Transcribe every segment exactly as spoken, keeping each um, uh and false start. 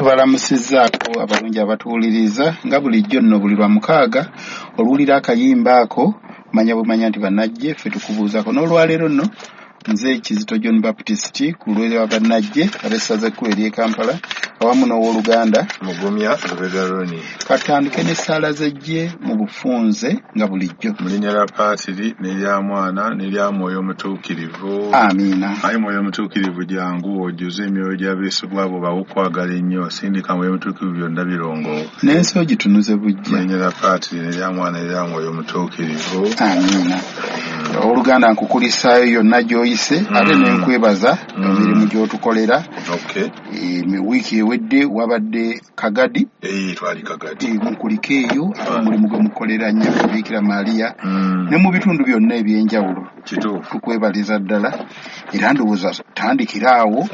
Tubalamusizzaako abalungi abatuwuliriza nga bulijjo nno buli lwa mukaaga oluwulira akayimba ako manya bumanya nti bannajje ffe tukubuuzaako. N'olwaleero nno nze Kizito John Baptist ku lwa bannajje ab'essaza ekkulu ery'e Kampala awamu n'owooluganda Mugumya Lubega Roni. Katandike n'essaala z'eggye mu bufunze nga bulijjo. Mu linnya lya Paatiri n'erya Mwana n'erya Mwoyo Mutuukirivu. Amiina. Ayi Mwoyo Mutuukirivu jangu ojjuze emyoyo gy'abeesigwa abo bawokwagala ennyo, sindika Mwoyo Mutuukirivu byonna birongooke. N'ensi ogitunuze buggya. Mu linnya lya Paatiri n'erya Mwana n'erya Mwoyo Mutuukirivu. Amiina. Owooluganda nkukulisaayo yonna gy'oyise ate ne nkwebaza emirimu gy'otukolera. Wiiki ewedde wabadde Kagadi. Twali Kagadi. Mukulike eyo ate omulimu gwe mukolera nnyo Biikira Maria ne mu bitundu byonna eby'enjawulo. Tukwebaliza ddala era ndowooza tandikira awo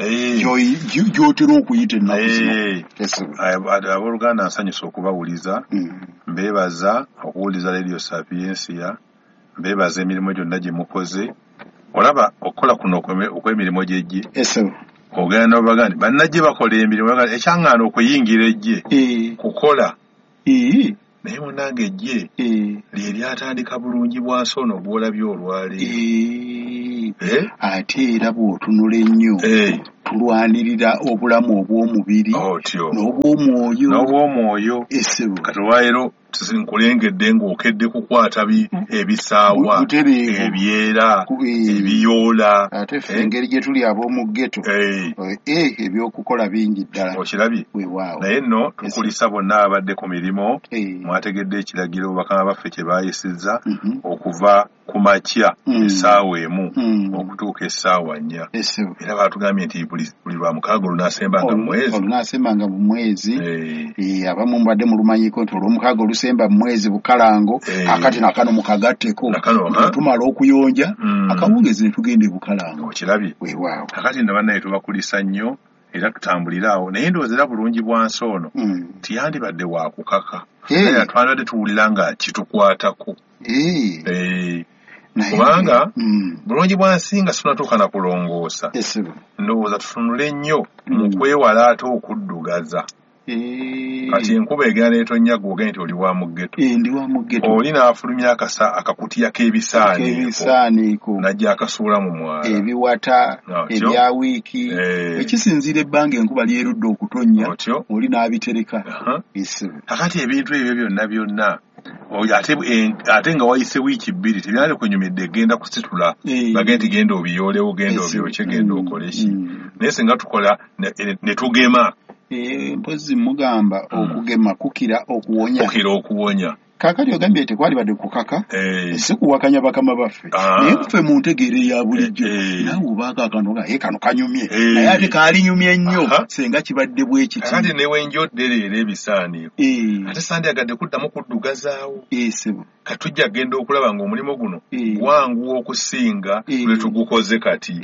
gy'otera okuyita ennaku zino. Abooluganda nsanyusa okubawuliza, mbeebaza okuwuliza Radio Sapientia, mbeebaza emirimu gyonna gye mukoze. Olaba okukola kuno okw'emirimu gy'eggye ogenda n'obaga nti bannajje bakola emirimu, ekyaŋŋaana okuyingira eggye kukola. Naye munnange eggye lye lyatandika bulungi bwa nsi ono gw'olabye olwaleero. Ate era bw'otunula ennyo tulwanirira obulamu obw'omubiri n'obw'omwoyo. N'obw'omwoyo. Kati olwaleero nkulengedde ng'okedde kukwata ebisaawa, ebyera, ebiyoola. Ate ffe engeri gye tuli ab'omu ghetto ebyokukola bingi ddala. Okirabye? Naye nno tukulisa bonna abadde ku mirimu, mwategedde ekiragiro bakama baffe kye baayisizza okuva ku makya essaawa emu okutuuka essaawa nnya. Era baatugambye nti buli lwa mukaaga olunaasemba nga mwezi. Olunaasemba nga mu mwezi. Abamu mubadde mulumanyiko nti olw'omukaaga olusemba mu mwezi Bukalango, akati nakano mukagatteko tumala okuyonja akawungeezi ne tugenda e Bukalango. Okirabye? Weewaawo. Kakati nno bannaye tubakulisa nnyo era tutambulire awo. Naye ndowooza era bulungi bwa nsi ono tiyandibadde wa kukaka. Era twandibadde tuwulira nga kitukwatako. Kubanga bulungi bwa nsi nga situnatuuka na kulongoosa, ndowooza tutunule nnyo mu kwewala ate okuddugaza. Kati enkuba egenda n'etonnya gw'ogenda nti oli wa mu ghetto. Ndi wa mu ghetto. Oli n'afulumya akasa akakutiya k'ebisaaniiko n'ajja akasuula mu mwala. Ebiwata, ebya wiiki. Ekisinziira ebbanga enkuba lyerudde okutonnya, oli n'abitereka. Kakati ebintu ebyo byonna byonna ate nga wayise wiiki bbiri tebyali kunyumidde genda kusitula bagende nti genda obiyoolewo, genda obyokye, genda okole ki. Naye singa tukola ne tugema. Mpozi mugamba okugema kukira okuwonya. Kukira okuwonya. Kaakati ogambye tekwalibadde kukaka, si kuwakanya bakama baffe. Naye ffe mu ntegeera eya bulijjo naawe obaako akantu nga ye kano kanyumye, naye ate kaalinyumye nnyo singa kibadde bwe kiti. Kakati ne wenjodde leero ebisaaniiko ate sandyagadde kuddamu kuddugazaawo. Kati tujja kugenda okulaba ng'omulimu guno gwanguwa okusinga lwe tugukoze kati.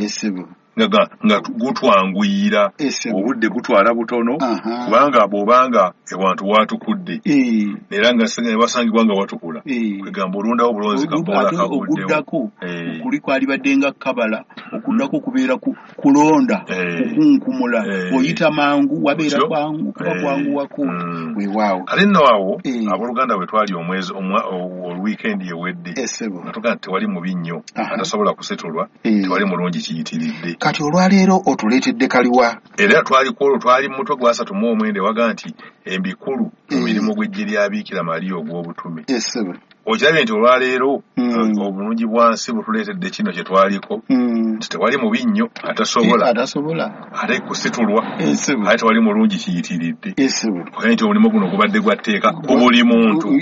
Nga nga gutwanguyira, obudde gutwala butono, kubanga bw'obanga ewantu watukudde era nga wasangibwa nga watukula, kwegamba olondawo obulonzi kaboola kaguddewo. Kuli kwalibadde nga kabala, okuddako kubeera kulonda, kukunkumula, oyita mangu, wabeera kwangu, kuba kwanguwako. Weewaawo. Kale nno awo abooluganda bwe twali omwezi olwiikendi ewedde nga tugamba nti tewali mubi nnyo atasobola kusitulwa, tewali mulungi kiyitiridde. Kati olwaleero otuleetedde kaliwa? Era twali ku olwo twali mu mutwe gwa asatu mu omwenda ewaga nti embikulu mu mirimu gw'eggye lya Biikira Maria ogw'obutume. Okirabye nti olwaleero obulungi bwa nsi butuleetedde kino kye twaliko nti tewali mubi nnyo atasobola ate kusitulwa, ate tewali mulungi kiyitiridde. Okirabye nti omulimu guno gubadde gwa tteeka ku buli muntu.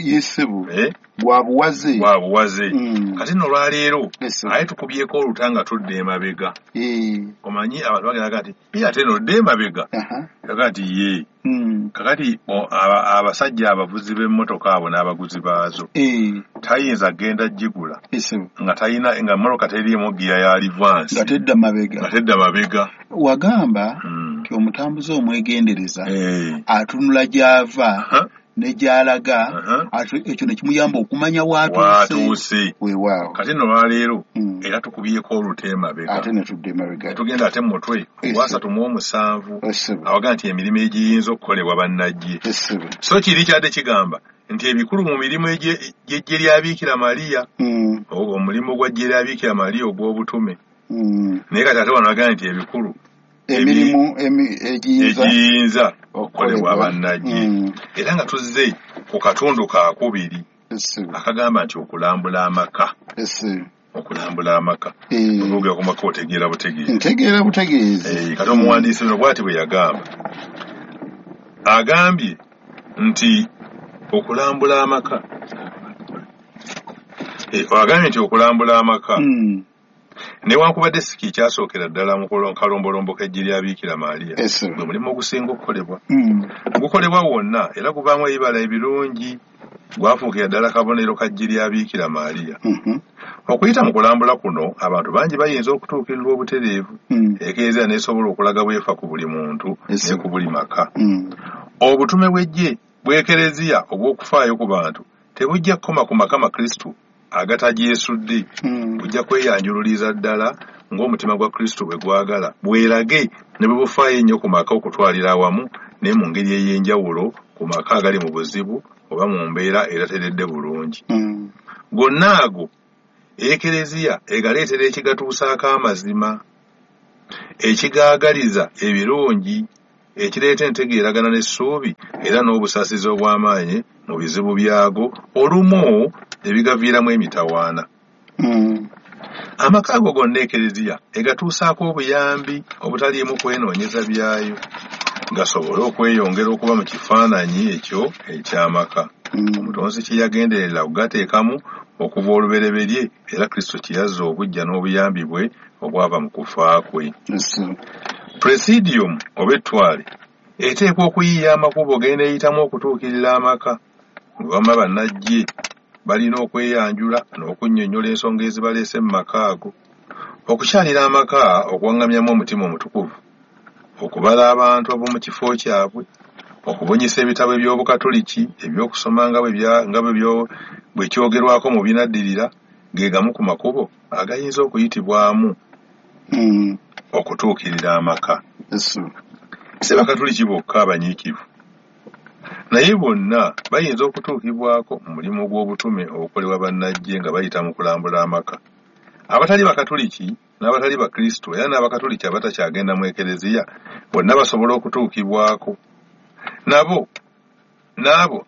Gwa buwaze. Gwa buwaze. Kati nno olwaleero aye tukubyeko oluta nga tudda emabega. Omanyi abantu bagenda nti ye ate nno odda emabega. Aga nti ye. Kakati abasajja abavuzi b'emmotoka abo n'abaguzi baazo tayinza genda gigula nga talina nga mmotoka teriimu ggiya ya livansi nga tedda mabega. Nga tedda mabega. Wagamba nti omutambuze omwegendereza atunula gy'ava Ne gy'alaga, ekyo ne kimuyamba okumanya w'atuuse. Weewaawo. Kati nno lwaleero era tukubyeko olute emabega. Ate ne tudda emabega. Tugenda ate mu mutwe ogwasatu mu omusanvu awaga nti emirimu egiyinza okukolebwa bannajje. So kiri kyadde kigamba nti ebikulu mu mirimu gy'eggye lya Biikira Maria, omulimu gwa ggye lya Biikira Maria ogw'obutume. Naye kati ate wano agamba nti ebikulu emirimu egiyinza okukolebwa bannajje. Era nga tuzze ku katundu kaakubiri akagamba nti okulambula amaka. Okulambula amaka. Okwogera ku maka otegeera butegeezi. Ntegeera butegeezi. Kati omuwandiisi ono bw'ati bwe yagamba. Agambye nti okulambula amaka. Agambye nti okulambula amaka. Newankubadde si kikyasookera ddala mu kalombolombo k'eggye lya Biikira Maria, gwe mulimu ogusinga okukolebwa. Gukolebwa wonna era guvaamu ebibala ebirungi, gwafuukira ddala kabonero ka ggye lya Biikira Maria. Okuyita mu kulambula kuno, abantu bangi bayinza okutuukirirwa obutereevu, Ekereziya n'esobola okulaga bwefa ku buli muntu ne ku buli maka. Obutume bw'eggye bw'Ekereziya obw'okufaayo ku bantu tebujja kukoma ku maka Makristu agatagyesudde, bujja kweyanjululiza ddala ng'omutima gwa Kristo bwe gwagala, bwerage ne bwe bufaayo ennyo ku maka okutwalira awamu ne mu ngeri ey'enjawulo ku maka agali mu buzibu oba mu mbeera erateredde bulungi. Gonna ago Ekereziya egaleetera ekigatuusaako amazima, ekigaagaliza ebirungi, ekireeta entegeeragana n'essuubi era n'obusaasizi obw'amaanyi mu bizibu byago olumu ebigaviiramu emitawaana. Amaka ago gonna Ekereziya egatuusaako obuyambi obutaliimu kwenoonyeza byayo, gasobole okweyongera okuba mu kifaananyi ekyo eky'amaka. Omutonzi kye yagenderera okugateekamu okuva olubereberye era Kristo kye yazza obuggya n'obuyambi bwe obwava mu kufa kwe. Presidium oba ettwale eteekwa okuyiiya amakubo g'eneeyitamu okutuukirira amaka. Bwe bamma bannajje balina okweyanjula n'okunnyonnyola ensonga ezibaleese mu maka ago. Okukyalira amaka okuwaŋŋamyamu omutima omutukuvu, okubala abantu ab'omu kifo kyabwe, okubunyisa ebitabo eby'Obukatoliki eby'okusoma nga bwe kyogerwako mu binaddirira, ge gamu ku makubo agayinza okuyitibwamu okutuukirira amaka. Si Bakatoliki bokka abanyiikivu, naye bonna bayinza okutuukibwako mu mulimu gw'obutume obukolebwa bannajje nga bayita mu kulambula amaka. Abatali Bakatoliki n'abatali Bakristo era n'Abakatoliki abatakyagenda mu Ekereziya bonna basobola okutuukibwako. Nabo n'abo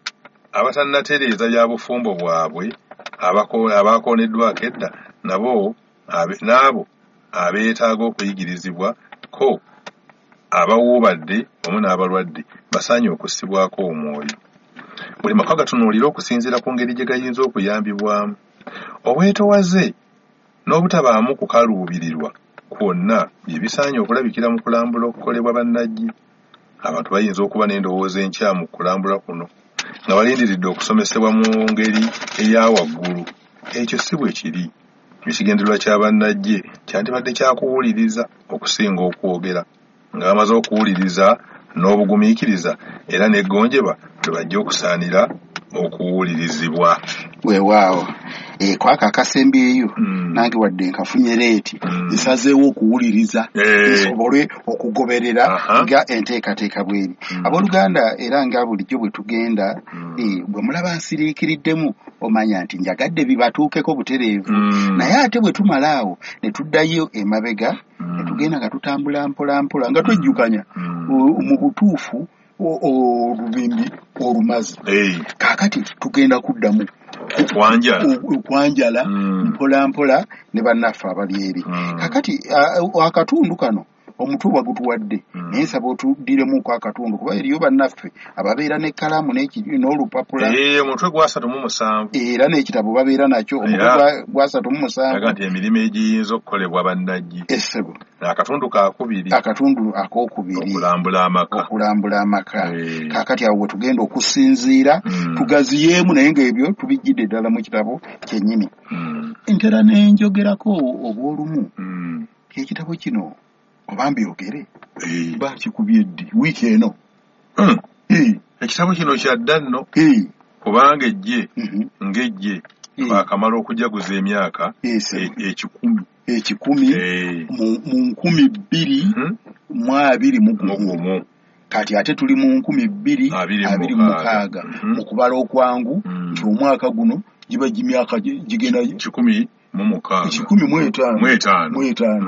abatannatereeza bya bufumbo bwabwe abakooneddwako edda nabo n'abo abeetaaga okuyigirizibwa ko abawuubadde wamu n'abalwadde basaanye okussibwako omwoyo. Buli maka gatunuulire okusinziira ku ngeri gye gayinza okuyambibwamu. Obwetowaze n'obutabaamu kukaluubirirwa kwonna bye bisaanye okulabikira mu kulambula okukolebwa bannajje. Abantu bayinza okuba n'endowooza enkyamu mu kulambula kuno nga balindiridde okusomesebwa mu ngeri eya waggulu. Ekyo si bwe kiri. Ekigendererwa kya bannajje kyandibadde kya kuwuliriza okusinga okwogera, nga bamaze okuwuliriza n'obugumiikiriza era n'eggonjebwa lwe bajja okusaanira okuwulirizibwa. Weewaawo. E, kwako akasembyeyo nange wadde nkafunye leeti nsazeewo okuwuliriza nsobole okugoberera nga enteekateeka bweri. Abooluganda, era nga bulijjo bwe tugenda, bwe mulaba nsiriikiriddemu omanya nti njagadde bibatuukeko butereevu. Naye ate bwe tumala awo ne tuddayo emabega ne tugenda nga tutambula mpola mpola nga twejjukanya mu butuufu olubimbi olumazi. Kaakati tugenda kuddamu okwanjala mpola mpola ne bannaffe abali eri. Kaakati akatundu kano omutwe bagutuwadde, naye nsaba otuddiremuko akatundu kuba eriyo bannaffe ababeera n'ekkalaamu n'olupapula. Omutwe gwa asatu mu musanvu era n'ekitabo babeera nakyo. Omutwe gwa asatu mu musanvu nti emirimu egiyinza okukolebwa bannajje. Essebo akatundu kaakubiri, akatundu akookubiri, okulambula amaka. Okulambula amaka. Kaakati awo we tugenda okusinziira tugaziyeemu, naye ng'ebyo tubijjidde ddala mu kitabo kyennyini. Ntera ne njogerako obw'olumu ekitabo kino oba mbyogere bakikubye ddi wiiki eno. Ekitabo kino kyadda nno kubanga ejje ng'ejje bakamala okujaguza emyaka ekikumi ekikumi mu nkumi bbiri mu abiri mu gumu. Kati ate tuli mu nkumi bbiri abiri mu mukaaga mu kubala okwangu nti omwaka guno giba gimyaka gigenda kikumi mu mukaaga kikumi mu etaano mu etaano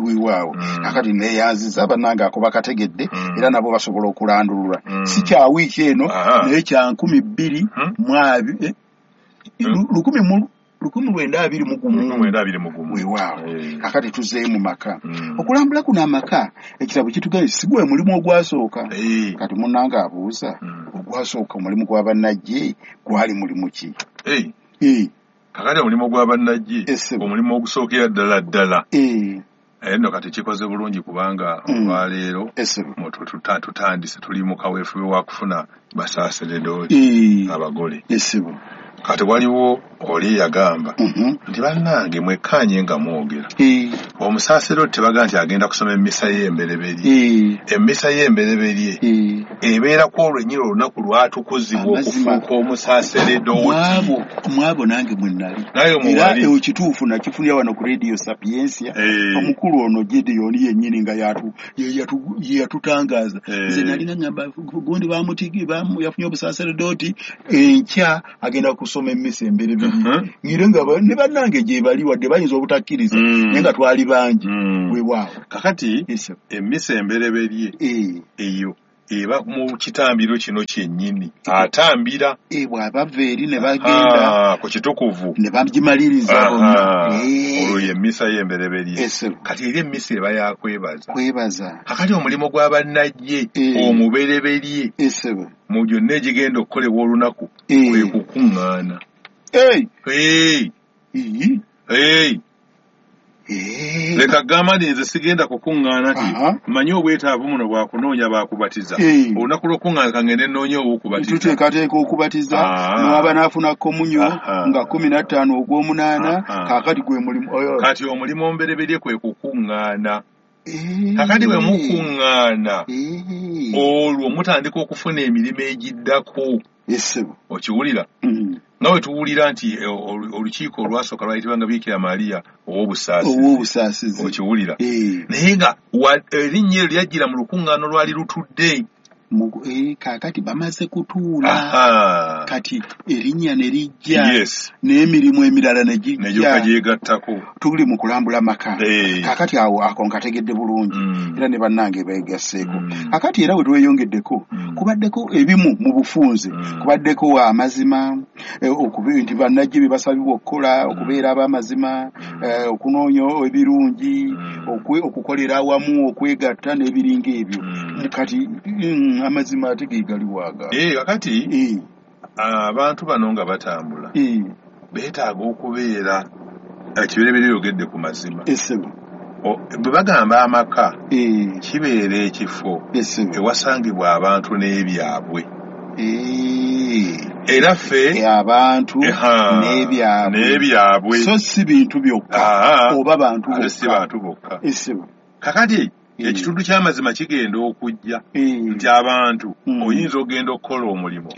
weewaawo. Akati neeyanziza bannange ako bakategedde era nabo basobola okulandulula si kya wiiki eno naye kya nkumi bbiri mu abiri lukumi mu lukumi lwenda abiri mu gumu weewaawo. Kakati tuzeeyo mu maka okulambula kuno amaka ekitabo kitugambye si gwe mulimu ogwasooka. Kati munnange abuuza ogwasooka omulimu gwa bannajje gwali mulimu ki? Kakati omulimu gwa bannajje omulimu ogusookera ddala ddala naye nno kati kikoze bulungi kubanga olwaleero tutandise tuli mu kaweefube wa kufuna basaaseredooti abagole. Kati waliwo oli yagamba nti bannange mwekkaanye nga mwogera. Omusaaseredooti tebaga nti agenda kusoma emmisa y'embereberye. Emmisa y'embereberye ebeera ku olwo ennyini olunaku lwatukuzibwa okufuuka omusaaseredooti. Mwabo nange mwe nali era ekituufu nakifunira wano ku Radio Sapientia omukulu ono Gideon yennyini nga ye yatutangaaza. Nze nali nga ngamba gundi bamutigi yafunye obusaaseredooti enkya agenda kusoma emmisa embereberye ngire nga ne bannange gye bali wadde bayinza obutakkiriza naye nga twali bangi. Weewaawo. Kakati emmisa embereberye eyo eba mu kitambiro kino kyennyini atambira bw'abava eri ne bagenda ku kitukuvu ne bagimaliriza bonna olwo ye mmisa y'embereberye. Kati eri emmisa eba yakwebaza kwebaza. Kakati omulimu gwa bannajje omubereberye mu gyonna egigenda okukolebwa olunaku kwe kukuŋŋaana. Leka gamba nti nze sigenda kukuŋŋaana ti mmanyi obwetaavu muno bwakunoonya baakubatiza. Olunaku lw'okuŋŋaana kangende nnoonye ow'okubatiza. Tuteekateeka okubatiza n'aba n'afuna komunyo nga kkumi na ttaano ogw'omunaana kaakati gwe mulimu. Kati omulimu omubereberye kwe kukuŋŋaana. Kakati bwe mukuŋŋaana olwo mutandika okufuna emirimu egiddako. Okiwulira? Nga bwe tuwulira nti olukiiko olwasooka lwayitibwanga Bikira Maria ow'obusaasizi. Okiwulira? Naye nga erinnya eryo lyajjira mu lukuŋŋaana olwali lutudde. Kaakati bamaze kutuula kati erinnya ne lijja n'emirimu emirala ne gijja gyegattako. Tuli mu kulambula maka. Kaakati awo ako nkategedde bulungi era ne bannange beegasseeko. Kaakati era we tweyongeddeko kubaddeko ebimu mu bufunze kubaddeko amazima nti bannajje bye basabibwa okukola okubeera ab'amazima okunoonya ebirungi okukolera awamu okwegatta n'ebiringa ebyo. Kati amazima ate ge galiwaga. Kakati abantu bano nga batambula beetaaga okubeera ekibereberye yogedde ku mazima. Bwe bagamba amaka kibeera ekifo ewasangibwa abantu n'ebyabwe. Era ffe abantu n'ebyabwe so si bintu byokka oba bantu bokka. Si bantu bokka. Kakati ekitundu ky'amazima kigenda okujja nti abantu oyinza ogenda okukola omulimu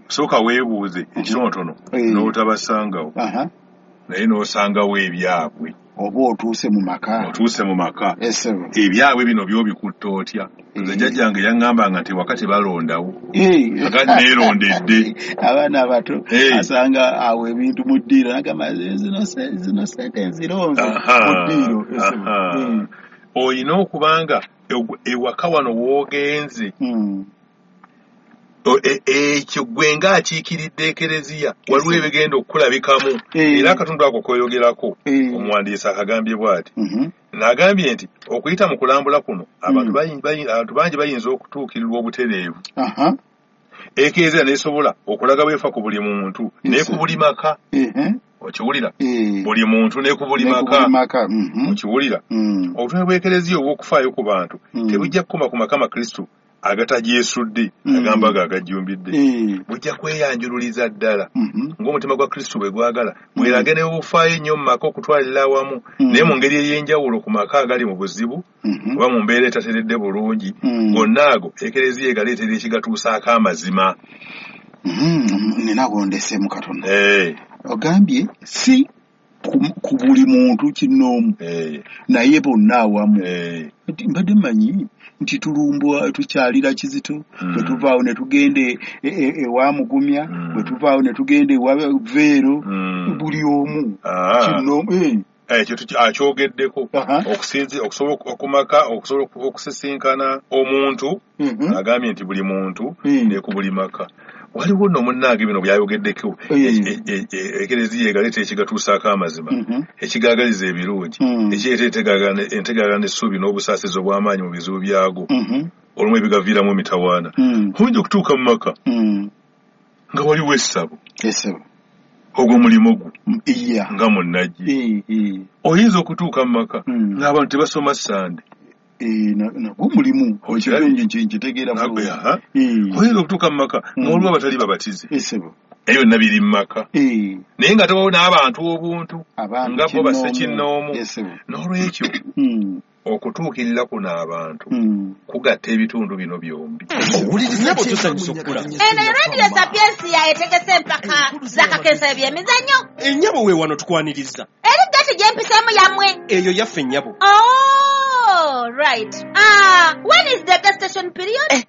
sooka weebuuze ekitonotono n'otabasangawo naye n'osangawo ebyabwe. Oba otuuse mu maka. Otuuse mu maka. Ebyabwe bino by'obikutta otya? Nze jjajjange yaŋŋambanga nti waka tebalondawo. Kakati neerondedde. Abaana abato asanga awo ebintu mu ddiiro n'agamba zino ssente nzironze mu ddiiro. Oyina okubanga ewaka wano w'ogenze ekyo gwe ng'akiikiridde ekereziya waliwo ebigenda okukulabikamu. Era akatundu ako k'oyogerako omuwandiisi akagambye bw'ati n'agambye nti okuyita mu kulambula kuno abantu bangi bayinza okutuukirirwa obutereevu. Ekereziya n'esobola okulaga bwefa ku buli muntu ne ku buli maka. Okiwulira? Buli muntu ne ku buli maka. Okiwulira? Obutume bw'ekereziya obw'okufaayo ku bantu tebujja kukoma ku maka makristu Agatagyesudde Mm. agamba ago agajjumbidde Eh. bujja kweyanjululiza ddala Mhm. ng'omutima gwa Kristo bwe gwagala, bwerage ne bufaayo ennyo mu maka okutwalira awamu, Mm. naye mu ngeri ey'enjawulo ku maka agali mu buzibu Mhm. oba mu mbeera etateredde bulungi. Mm. Gonna ago Ekereziya egaleetera ekigatuusaako amazima. Mhm. Nina gondeseemu katono. Eh, Ogambye si ku ku buli muntu kinnoomu, eh, naye bonna awamu. eh. Nti mbadde mmanyi nti tulumbwa, tukyalira Kizito, Mm. bwe tuvaawo ne tugenda e- e- ewa Mugumya, Mm. bwe tuvaawo ne tugenda ewa Veero, Mm. buli omu Ah. kinnoomu. Eh. Ekyo tuki- akyogeddeko. Aha. Okusinzi okusobola okumaka okusobola okusisinkana omuntu, Mhm. agambye nti buli muntu Mm. ne ku buli maka. Waliwo nno munnange bino byayogeddeko. Mm. E- e- e- ekereziya egaleeta ekigatuusaako amazima, Mhm. ekigaagaliza ebirungi, Mm. ekireeta entegaagana- entegaagana, essuubi n'obusaasizi obw'amaanyi mu bizibu byago, Mhm. olumu ebigaviiramu emitawaana. Mm. Oyinza okutuuka mu maka Mm. nga waliwo essabo, Essabo. ogwo mulimu gwo Mm, iya. nga munnajje. Eh, eh. Oyinza okutuuka mu maka Mm. ng'abantu tebasoma Sande. Eh, na- nagwo mulimu. Okirabye? Ekyo nki- nkitegeera Nagwe, bulungi. aha. Eh. Oyinza okutuuka mu maka Mm. nga waliwo abatali babatize. Essabo. Ebyo byonna biri mu maka, Eh. naye nga tewawo n'abantu obuntu Abantu nga bo bassekinnoomu. Essabo. N'olwekyo Mm. okutuukirira kuno abantu Mm. kugatta ebitundu bino byombi. Nnyabo, tusanyusa okukulaba. Eno Radio Sapiensia etegese empaka z'akakensa ebyemizannyo. Ennyabo, we wano tukwaniriza. Eri gati gyempiseemu yammwe? Eyo yaffe, nnyabo. Oh, right. Ah, when is the gestation period?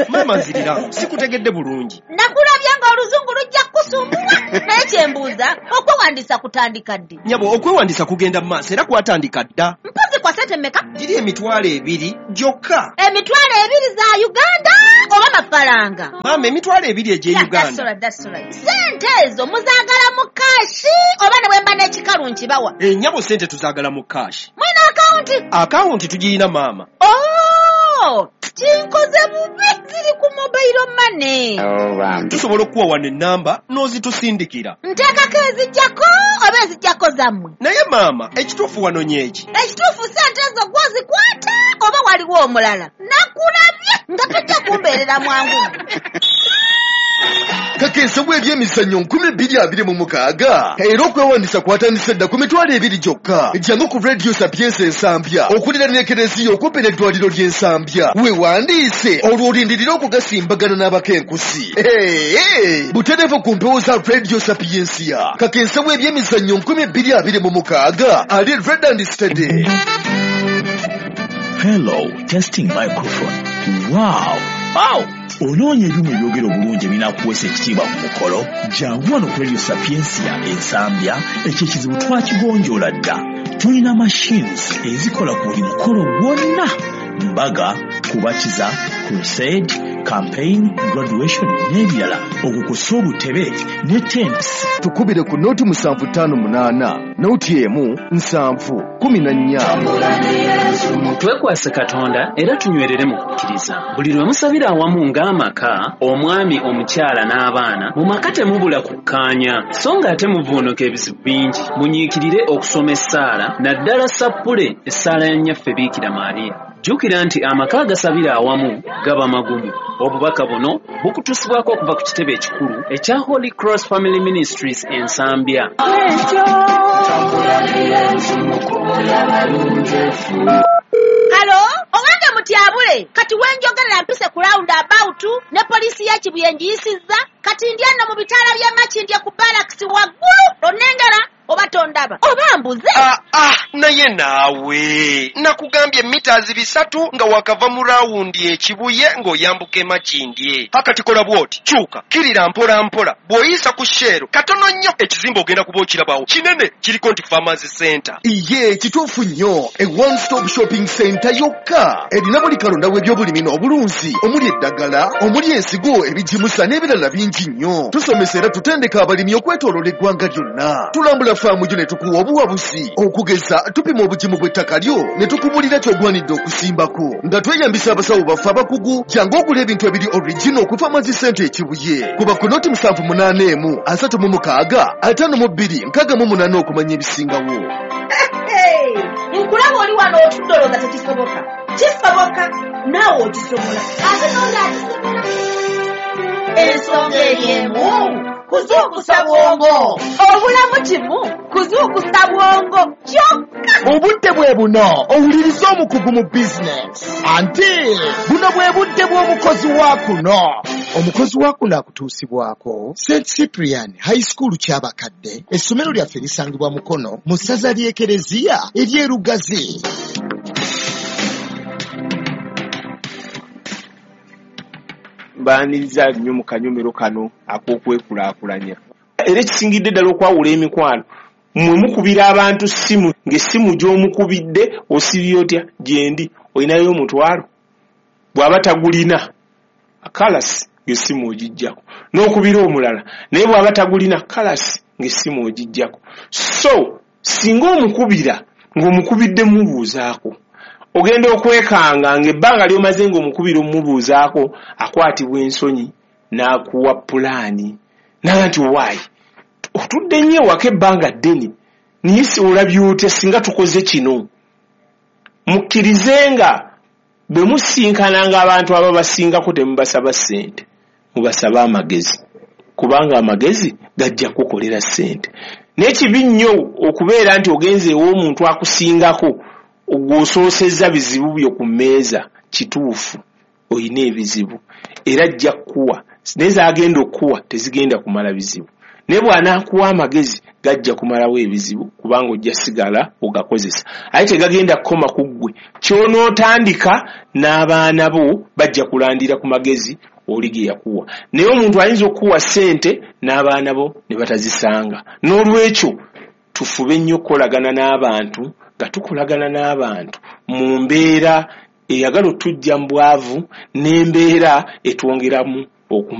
Maama, nzirira, sikutegedde bulungi. Nakulabye ng'oluzungu lujja kukusumbuwa, naye kyembuuza, okwewandiisa kutandika ddi? Nnyabo, okwewandiisa kugenda mu maaso era kwatandika dda. Mpozi kwa sente mmeka? Giri emitwalo ebiri gyokka. Emitwalo ebiri za Uganda oba mafaranga? Maama, emitwalo ebiri egy'e Yeah, that's Uganda. all right, that's all right. Sente ezo muzaagala mu cash oba ne bwe mba n'ekikalu nkibawa? Ennyabo, sente tuzaagala mu cash. Mwina akawunti? Akawunti tugirina, maama. Oh, kinkoze bubi, ziri ku mobile money. Tusobola okukuwa wano ennamba n'ozitusindikira. Nteekako ezijjako oba ezijjako zammwe? Naye maama, ekituufu wano nyeeki. Ekituufu sente ezo gwozikwata oba waliwo omulala? Nakulabye nga tojja kumbeerera mwangu. Kakensa bw'ebyemizannyo nkumi bbiri abiri mu mukaaga, era okwewandiisa kwatandise dda ku mitwalo ebiri gyokka. Jangu ku Radio Sapiensia Ensambya okuliraana Ekereziya okumpi n'eddwaliro ly'Ensambya, weewandiise olwo olindirire okugasimbagana n'abakenkusi. Hey, butereevu ku mpewo za Radio Sapiensia. Kakensa bw'ebyemizannyo nkumi bbiri abiri mu mukaaga ali ready and steady. Hello, testing microphone. Wow! Wow! Onoonya ebyuma ebyogera obulungi ebinaakuweesa ekitiibwa ku mukolo? Jangu wano ku Radio Sapiensia Ensambya, ekyo ekizibu twakigonjoola dda. Tulina machines ezikola ku buli mukolo gwonna: mbaga, kubatiza, crusade, campaign, graduation n'ebirala, okukusa obutebe ne tents. Tukubire ku noti musanvu ttaano munaana noti emu nsanvu kumi na nnya. Twekwase Katonda era tunywerere mu kukkiriza. Buli lwe musabira awamu ng'amaka, omwami, omukyala n'abaana, mu maka temubula kukkaanya, so ng'ate muvuunuka ebizibu bingi. Munyiikirire okusoma essaala, naddala sappule, essaala ya Nnyaffe Biikira Maariya. Jjukira nti amaka agasabira awamu gaba magumu. Obubaka buno bukutuusibwako okuva ku kitebe ekikulu ekya Holy Cross Family Ministries Ensambya. Hello, owange mutyabule, kati wenjogerera mpise ku round about ne poliisi ya Kibuye ngiyisizza, kati ndi eno mu bitaala by'e Makindye ku barracks waggulu, onnengera oba tondaba oba mbuze? Ah, ah, naye naawe nakugambye mita bisatu nga wakava mu rawundi Ekibuye ng'oyambuka Emakindye. Akati kola bw'oti, kyuka kirira mpola mpola, bw'oyisa ku Shell katono nnyo, ekizimbe ogenda kuba okirabawo kinene, kiriko nti Farmers Center. Iye, kituufu nnyo. E one stop shopping center yokka erina buli kalonda w'ebyobulimi n'obulunzi, omuli eddagala, omuli ensigo, ebigimusa n'ebirala bingi nnyo. Tusomesa era tutendeka abalimi okwetooloola eggwanga lyonna. Tulambula faamu gyo ne tukuwa obuwabuzi. Okugeza, tupima obugimu bw'ettaka lyo ne tukubulira ky'ogwanidde okusimbako nga tweyambisa abasawo baffe abakugu. Jangu ogula ebintu ebiri original ku Farmers Center Ekibuye. Kuba ku noti musanvu munaana emu asatu mu mukaaga ataano mu bbiri nkaaga mu munaana okumanya ebisingawo. Hey, Nkulaba oli wano otudde olowooza tekisoboka. Kisoboka, naawe okisobola. Ate n'oli akisobola. Ensonga eri emu, kuzuukusa bwongo. Obulamu kimu, kuzuukusa bwongo kyokka. Obudde bwe buno owuliriza omukugu mu bizinesi. Anti buno bwe budde bw'omukozi wa kuno. Omukozi wa kuno akutuusibwako Saint Cyprian High School Kyabakadde. Essomero lyaffe lisangibwa Mukono mu ssaza ly'Ekereziya ery'e Lugazi. Mbaaniriza nnyo mu kanyomero kano ak'okwekulaakulanya. Era ekisingidde ddala okwawula emikwano, mmwe mukubira abantu ssimu ng'essimu gy'omukubidde osibye otya gyendi olinayo omutwalo bw'aba tagulina kalasi ng'essimu ogiggyako n'okubira omulala naye bw'aba tagulina kalasi ng'essimu ogiggyako. So singa omukubira ng'omukubidde mubuuzaako ogenda okwekanga ng'ebbanga ly'omaze ng'omukubira omubuuzaako akwatibwa ensonyi n'akuwa pulaani naga nti waayi otudde nnyo ewaka ebbanga ddene naye si olabye otya singa tukoze kino. Mukkirize nga bwe musinkananga abantu ababasingako temubasaba ssente, mubasaba amagezi, kubanga amagezi gajja kukolera ssente. Naye kibi nnyo okubeera nti ogenze ew'omuntu akusingako gw'osoosezza bizibu byo ku mmeeza. Kituufu olina ebizibu era ajja kukuwa, naye z'agenda okukuwa tezigenda kumala bizibu, naye bw'anaakuwa amagezi gajja kumalawo ebizibu kubanga ojja sigala ogakozesa. Aye tegagenda kukoma ku ggwe, ky'onootandika n'abaana bo bajja kulandira ku magezi oli ge yakuwa. Naye omuntu ayinza okukuwa ssente n'abaana bo ne batazisanga. N'olwekyo tufube nnyo okukolagana n'abantu nga tukolagana n'abantu mu mbeera eyagala otujja mu bwavu n'embeera etwongeramu okumanya.